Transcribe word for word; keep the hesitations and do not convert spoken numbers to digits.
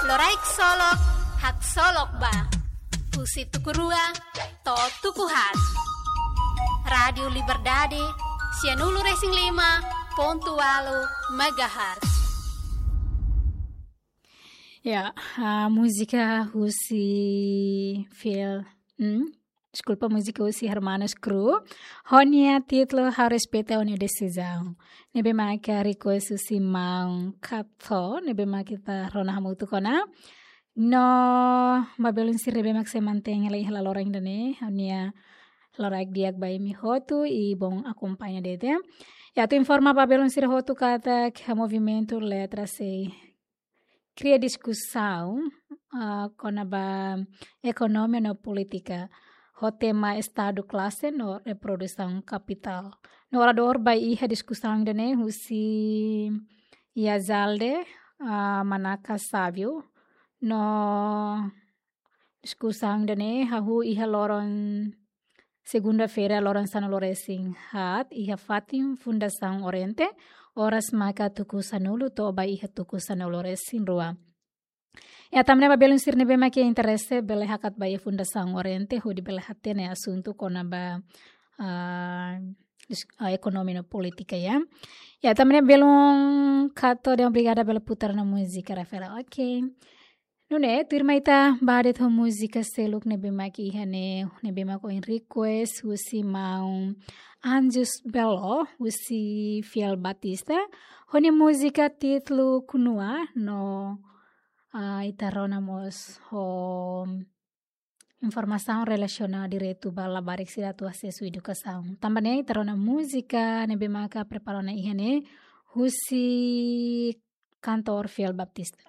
Loraik Solok, haksolok ba. Husi tuku rua to'o tuku haat. Rádiu Liberdade, sianulu-resin-lima pontu ualu megahertz. Ya, ah, múzika husi fiel, hmm? Deskulpa, múzika husi Hermanos Crew. Ho nia títulu Ha'u Respeita Ó-nia Desizaun. Ne'ebé maka request husi maun Kato, ne'ebé maka ita rona hamutuk ona. No, ba belun sira ne'ebé mak sei mantein hela iha laloran ida-ne'e, ha'u-nia loraik di'ak ba imi hotu, i bom akompaña de'it. Ya, atu informa ba belun sira hotu katak movimentu Letra sei kria diskusaun, ah, kona-ba ekonomia no polítika, ho tema Estadu Klase no Reprodusaun Kapitál. No oradór ba iha diskusaun ida-ne'e husi Yazalde, ah, Manaka Savio, no diskusaun ida-ne'e hahú iha loron segunda-feira, loron sanulu-resin-haat, iha fatin Fundasaun Oriente, oras maka tuku sanulu to'o ba iha tuku sanulu-resin-rua. Ya, tanba ne'e ba belun sira ne'ebé mak iha interese, bele hakat ba iha Fundasaun Oriente, hodi bele hatene asuntu kona-ba, ah, dis-, ah, ekonomia no polítika, ya. Ya, tanba ne'e belun Kato, dehan obrigada, bele putar ona múzika, Rafaela. Oke. Nune'e, tuirmai ita ba de'it ho múzika seluk ne'ebé mak iha ne'e, ne'ebé mak ohin request husi maun Anjos Belo, husi Fiel Batista. Ho nia múzika títulu Kunua, no, ah, ita rona mós ho informasaun relasiona direitu ba labarik sira atu asesu edukasaun. Tanba ne'e, ita rona múzika ne'ebé maka prepara ona iha ne'e, husi kantór Fiel Batista.